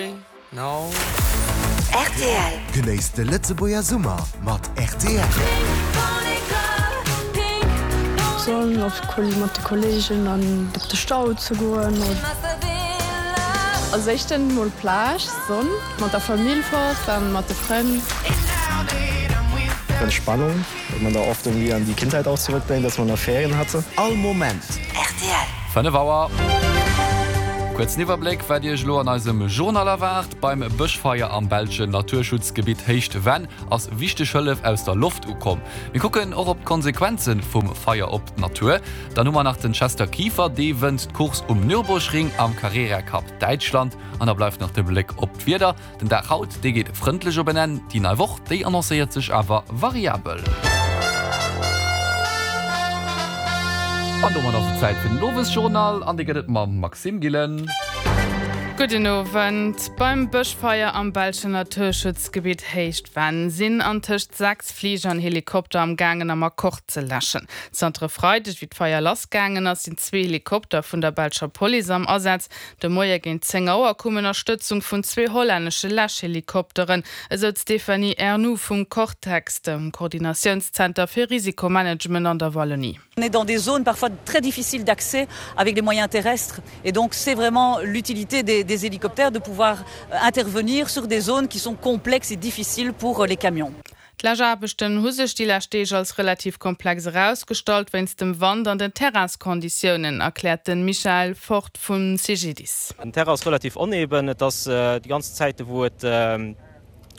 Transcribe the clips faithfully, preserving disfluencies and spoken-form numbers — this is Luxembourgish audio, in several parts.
Sorry, no. R T L. Genéisst de Lëtzebuerger Summer mat R T L. Sonn op mat de Kolleegen an op de Stau ze goen. Als éischten mol Plage, Sonn, mat der Famill fort an mat de Frënn. Entspannung, weil man da oft irgendwie an die Kindheit auch zurückdenkt, dass man da Ferien hatte. All Moment. R T L. Fënnef Auer. Kuerzen Iwwerbléck, wat Iech elo an eisem Journal erwaart. Beim Bëschfeier am belschen Naturschutzgebitt Héicht Venn ass wichteg Hëllef aus der Loft ukomm. Mir kucken och op d'Konsequenze vum Feier op d'Natur. Dann hu mer nach den Chester Kieffer, dee wënnt d'Course um Nürburgring am Carrera Cup Däitschland. An da bleift nach de Bléck op d'Wieder. Den Dag haut, dee geet frëndlech op en Enn. Déi nei Woch, déi annoncéiert sech awer variabel. An domat ass et Zäit fir den Owesjournal an dee gëtt et mam Maxime Gillen. Gudden Owend. Beim Bëschfeier am belschen Naturschutzgebitt Héicht Venn sinn antëscht sechs Fliger an Helikopter am gaangen am Akkord ze läschen. Zanter e Freideg, wéi d'Feier lassgaangen ass, sinn zwee Helikopter vun der belscher Police am Asaz. De Moie géint zéng Auer koum Ënnerstëtzung vun zwee hollännesche Läschhelikopteren. Esou d'Stéphanie Ernoult vum Cortex, dem Koordinatiounszenter fir Risikomanagement an der Wallonie. On est dans des zones parfois très difficiles d'accès avec les moyens terrestres et donc c'est vraiment l'utilité des, des hélicoptères de pouvoir intervenir sur des zones qui sont complexes et difficiles pour les camions. D'Läschaarbechten hu sech déi lescht Deeg als relativ komplex erausgestallt wéinst dem Wand an den Terrainskonditiounen, erkläert de Michael Fort vum C G D I S. Den Terrain ass relativ oneben, et ass äh, déi ganz Zäit wou et äh,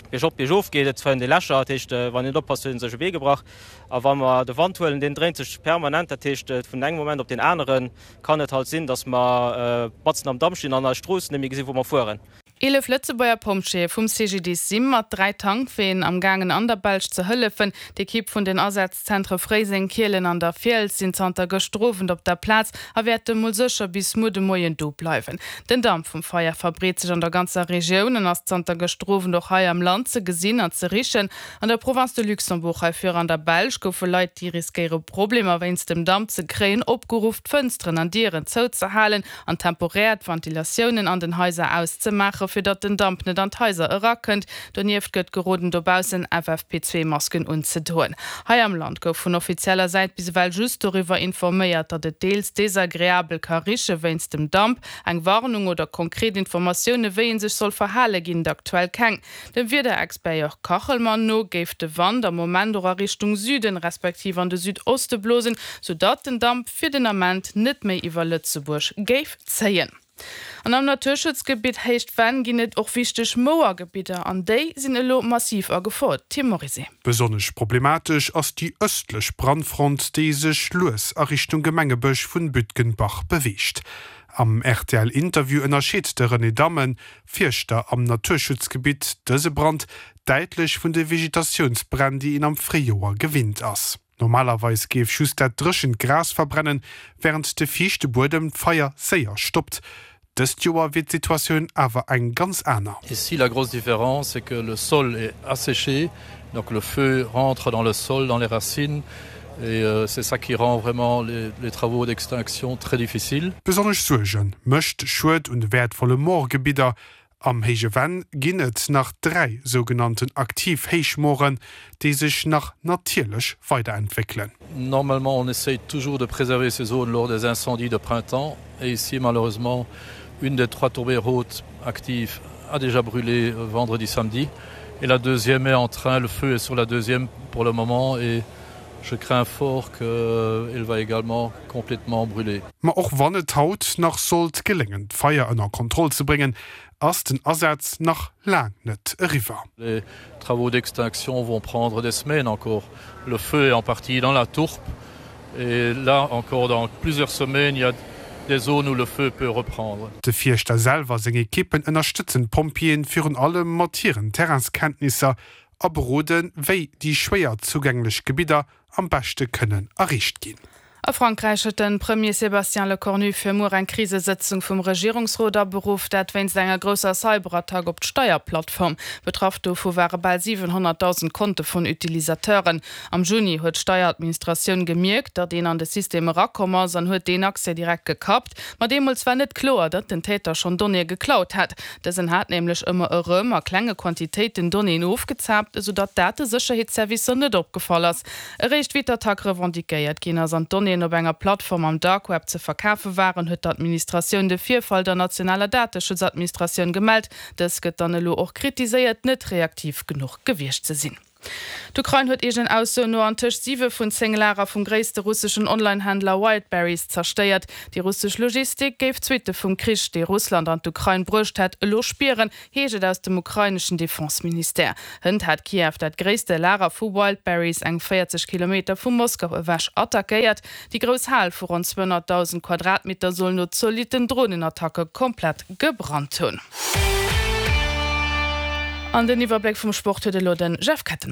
biergop biergof geet, et fënnt ee Lächer, dat heescht, wann een net oppasst, huet ee sech e Bee gebrach. A wa mer de Wand huelen, deen dréint sech permanent, dat heescht vun engem Moment op den aneren kann et halt sinn, dass mer äh, matzen am Damp stinn an eis Strooss net méi gesinn, wou mer fueren. Eelef Lëtzebuerger Pompjeeë vum C G D I S si mat dräi Tankween am gaangen an der Belsch ze hëllefen. D'Ekipp vun den Asazzentre Fréiseng, Kielen an der Fiels sinn zanter gëschter Owend op der Plaz a wäerte mol sécher bis muer de Moien do bleiwen. Den Damp vum Feier verbreet sech an der ganzer Regioun an ass zanter gëschter Owend och hei am Land ze gesinn an ze richen. An der Province de Luxembourg heifir an der Belsch goufe Leit, déi riskéiere Problemer wéinst dem Damp ze kréien, opgeruff, d'Fënsteren an Dieren zouzehalen an temporär d'Ventilatiounen an den Haiser auszemaachen, fir datt den Damp net an d'Haiser erakënnt. Donieft gëtt geroden, dobaussen F F P zwee Masken unzedoen. Hei am Land gouf vun offizieller Säit bis ewell just doriwwer informéiert, datt et deels desagreabel ka riche wéinst dem Damp, eng Warnung oder konkret Informatioune wéi ee sech soll verhale ginn et aktuell keng. Dem Wiederexpert Jörg Kachelmann no géif de Wand am Moment och a Richtung Süden respektiv an de Südoste blosen, soudatt den Damp fir den Ament net méi iwwer Lëtzebuerg géif zéien. An am Naturschutzgebitt Héicht Venn ginn et och wichteg Mouergebidder an déi sinn elo massiv a Gefor. Tim Morizet. Besonnesch problematesch ass déi ëstlech Brandfront, déi sech lues a Richtung Gemengebësch vun Bütgenbach beweegt. Am R T L-Interview ënnerscheet de René Dammen, Fierschter am Naturschutzgebitt, dëse Brand däitlech vun de Vegetatiounsbränn, déi een am Fréijoer gewinnt ass. Normalerweis géif just dat dréchent Gras verbrennen, wärend de fiichte Buedem d'Feier séier stoppt. Dëst Joer wier d'Situatioun awer eng ganz aner. Ici, la grosse différence, c'est que le sol est asséché, donc le feu rentre dans le sol, dans les racines, et euh, c'est ça qui rend vraiment les, les travaux d'extinction très difficiles. Besonnesch Suerge mécht de Schued un de wäertvolle Moorgebidder. Am Héije Venn ginn et nach dräi sougenannten aktiv Héichmooren, déi sech nach natierlech weiderentwéckelen. Normalement, on essaye toujours de préserver ces zones lors des incendies de printemps. Et ici, malheureusement, une des trois tourbières hautes actives a déjà brûlé vendredi, samedi. Et la deuxième est en train, le feu est sur la deuxième pour le moment et je crains fort qu'elle va également complètement brûler. Ma och wann et haut nach sollt geléngen, d'Feier ënner Kontroll ze bréngen, ass den Asaz nach laang net eriwwer. Les travaux d'extinction vont prendre des semaines encore. Le feu est en partie dans la tourbe et là encore dans plusieurs semaines, il y a des zones où le feu peut reprendre. De Fierschter selwer a seng Ekippen ënnerstëtzen d'Pompjeeën virun allem mat hiren Terrainskenntnisser a beroden, wéi déi schwéier zougänglech Gebidder am beschte kënnen erreecht ginn. A Frankräich huet de Premier Sébastien Lecornu fir muer eng Krisesëtzung vum Regierungsrot aberuff, dat wéinst enger grousser Cyberattack op d'Steierplattform. Betraff dovu ware bal siwenhonnertdausend Konte vun Utilisateuren. Am Juni huet d'Steieradministratioun gemierkt, datt een an de System erakomm ass an huet deen Accès direkt gekappt. Ma deemools war net kloer, datt den Täter schonn Donnéeë geklaut hat. Dësen hat nämlech ëmmer erëm a klenge Quantitéiten Donnéeën ofgezaapt, esou datt d'Datesécherheetsservicer net opgefall ass. Eréischt wéi d'Attack revendiquéiert ginn ass an d'Donnéeën op enger Plattform am Dark Web ze verkafe waren, huet d'Administratioun de Virfall der nationaler Dateschutzadministratioun gemellt. Dës gëtt dann elo och kritiséiert, net reaktiv genuch gewiescht ze sinn. D'Ukrain huet eegenen Aussoen no antëscht siwe vun zéng Lager vum gréisste russeschen Online-Händler Wildberries zerstéiert. Déi russesch Logistik géif d'Suitte vum Krich, dee Russland an d'Ukrain bruecht hätt, elo spieren, heescht et aus dem ukraineschen Defense-Ministère. Hënt hat Kiew dat gréisste Lager vu Wildberries, eng véierzeg Kilometer vu Moskau ewech, attackéiert. Déi grouss Hal vu ronn zweehonnertdausend Quadratmeter soll no zolitten Dronenattacke komplett gebrannt hunn. An den Iwwerbléck vum Sport huet elo de Jeff Kettenmeyer.